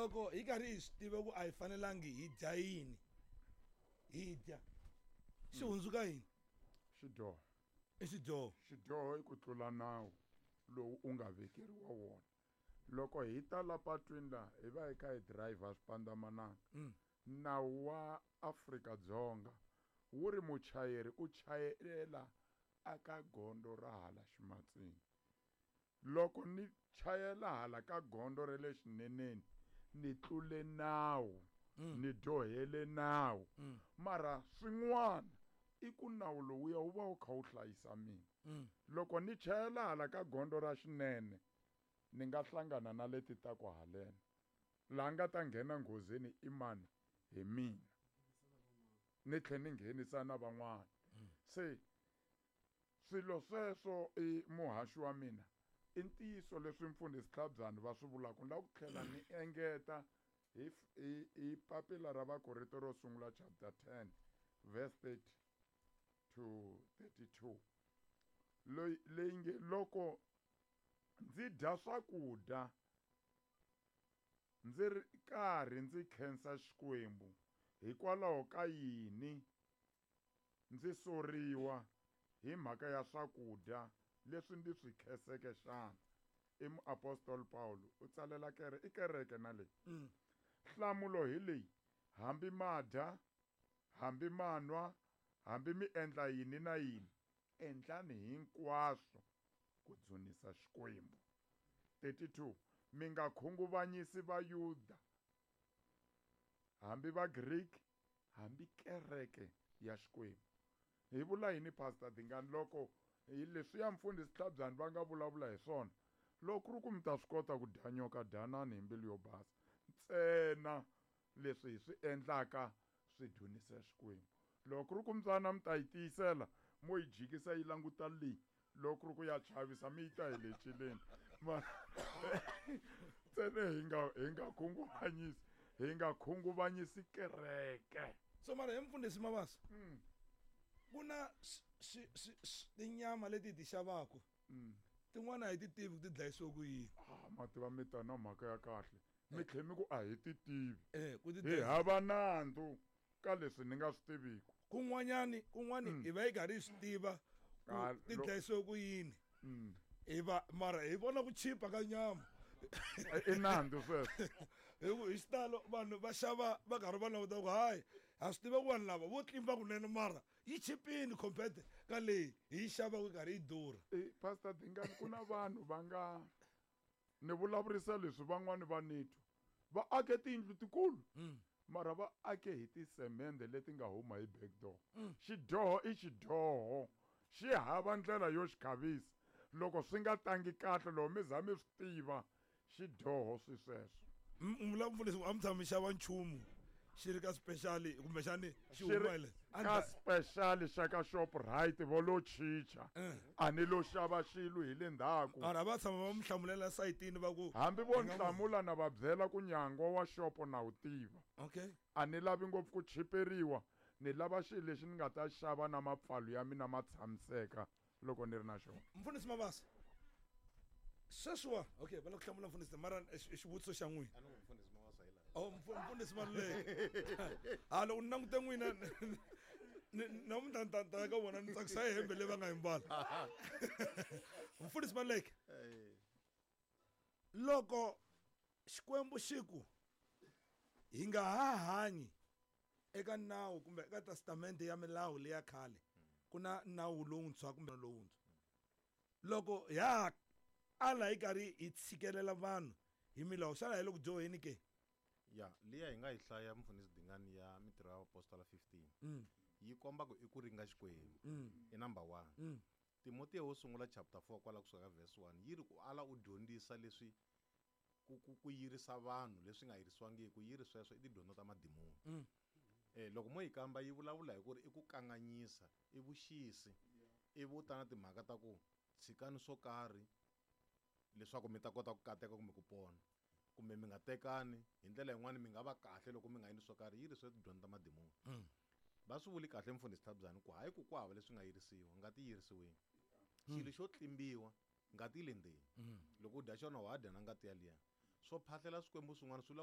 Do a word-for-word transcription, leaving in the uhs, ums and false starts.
Loko hi karhi hi swi tiva ku a hi fanelangi hi dya yini, hi dya xi hundzuka yini? Xidyoho. I xidyoho. Xidyoho i ku tlula nawu lowu u nga vekeriwa wona. Loko hi ta la patwini laha hi va hi kha hi driver swipandzamananga, Mm. nawu wa Afrika-Dzonga wu ri muchayeri u chayela aka gondzo ra hala ximatsini. Loko ni chayela hala ka gondzo ra le xineneni, ni tlule nawu, Mm. ni dyohele nawu. Mm. Mara swin'wana i ku nawu lowuya wu va wu kha wu hlayisa mina. Mm. Loko ni chayela hala ka gondzo ra xinene, ni nga hlangana na leti ta ku haleni. Laha nga ta nghena nghozini i mani? Hi mina. Ni tlhela ni nghenisa na van'wana. Se swilo sweswo i muhaxi wa mina. I ntiyiso leswi mfundhisi Tlhabyani va swi vulaka. Ni lava ku tlhela ni engeta hi f-, hi, hi papila ra Vakorinto ro sungula chapter ten verse thirty to thirty-two. Loyi leyi nge loko ndzi dya swakudya ndzi ri karhi ndzi khensa Xikwembu, hikwalaho ka yini ndzi soriwa hi mhaka ya swakudya leswi ndzi swi khenseke xana? I muapostoli Paulo u tsalela kere, i kereke na leyi. Mm. Nhlamulo hi leyi: hambi ma dya, hambi ma nwa, hambi mi endla yini na yini, endlani hinkwaswo ku dzunisa Xikwembu. thirty-two. Mi nga khunguvanyisi Vayuda, hambi Vagriki, hambi kereke ya Xikwembu. Hi vula yini, Pastor Dingani, loko hi leswiya mfundhisi Tlhabyani va nga vulavula hi swona? Loko ku ri ku mi ta swi kota ku dya nyoka, dyanani hi mbilu yo basa. Ntsena leswi hi swi endlaka swi dzunisa Xikwembu. Loko ku ri ku mbyana mi ta yi tiyisela, mo yi jikisa yi languta leyi. Loko ku ri ku ya chavisa, mi yi ta hi le celeni. Ma ntsena hi nga, hi nga khunguvanyisi, hi nga khunguvanyisi kereke. So mara he mfundhisi Mabasa, Mm. ku na swi, swi, swi, swi, tinyama leti hi ti xavaka. Mm. Tin'wana a hi ti tivi ku ti dlayisiwe ku yini. Ah, ma tiva mi ta na mhaka ya kahle. Mi tlhe mi ku a hi ti tivi. Eh, ku ti Hi dlayisa. hava nandzu ka leswi ni nga swi tiviku. Kun'wanyani, kun'wani Mm. hi va hi karhi hi swi tiva ku Ah, ti lo- dlayisiwe ku yini. Mm. Hi va, mara hi vona ku chipa ka nyama. I nandzu sweswo. Hi ku hi xitalo vanhu va xava va karhi va languta ku hayi, ha swi tiva ku vanhu lava vo tlimba kunene, mara yi chipini compared ka leyi hi yi xavaka yi karhi yi durha. Eh, Pastor Dingani, ku na vanhu va nga ni vulavurisa leswi van'wani va ni twa. Va ake tiyindlu tikulu. Mm. Mara va ake hi tisemende leti nga huma hi back door. Mm. Xidyoho i xidyoho. Xi hava ndlela yo xi khavisa. Loko swi nga tangi kahle, loko mi za mi swi tiva, xidyoho swi sweswo. M-, mi vula mfundhisi, a mi tshami mi xava nchumu xi ri ka special kumbexani xi Xi ri huma hi le? A ka ni ta- special xa ka Shoprite vo lo chicha. Eh. A ni lo xava xilo hi le ndzhaku. Mara va tshama va mi hlamulela sayitini va ku Hambi vo Hi nga hlamula na va byela ku nyangwa wa xopo na wu tiva. Okay. A ni lavi ngopfu ku chiperiwa, ni lava xilo lexi ni nga ta xava na mapfalo ya mina ma tshamiseka loko ni ri na xona. Mfundhisi Mabasa, sweswiwa, okay, va la ku hlamula mfundhisi, mara i xi-, i xivutiso xa n'wina. A ni ku mfundhisi Mabasa hi laha. Oh, mfu-, mfundhisi Maluleke. Ha, loko ni langute n'wina, ni, namuntlha ni ta, ta ya ka vona, ni tsakisa hi hembe leyi va nga yi mbala. Mfundhisi Maluleke, Eh. loko Xikwembu xi ku hi nga ha hanyi eka nawu kumbe eka testamente ya milawu leya khale, ku na nawu lowuntshwa kumbe lowuntshwa, loko ya ala hi karhi hi tshikelela vanhu hi milawu, xana hi le ku dyoheni ke? Ya, liya hi nga yi hlaya mfundhisi Dingani ya Mintirho ya Vaapostola fifteen. Mm. Yi komba ku i ku ringa Xikwembu. Mm. I number one. Mm. Timotiya wo sungula chapter four kwala kusuka ka verse one yi ri ku ala u dyondzisa leswi ku, ku, ku yirisa vanhu leswi nga yirisiwangiki, ku yiri sweswo i tidyondzo ta madimoni. Mm. Eh, loko mo yi kamba yi vulavula hi ku ri i ku kanganyisa, i vuxisi, i vu ta na timhaka ta ku tshikani swo karhi leswaku mi ta kota ku kateka kumbe ku pona, kumbe mi nga tekani hi ndlela yin'wani mi nga va kahle loko mi nga endli swo karhi, yi ri swo tidyondzo ta madimoni. Mm. Va swi vuli kahle mfundhisi Tlhabyani ku hayi ku ku hava leswi nga yirisiwa, ngati yi yirisiwile. Xilo xo tlimbiwa, ngati yi le ndzeni. Mm. Loko u dya xona wa dya na ngati yaliya. Swo phahlela swikwembu swin'wana swi vula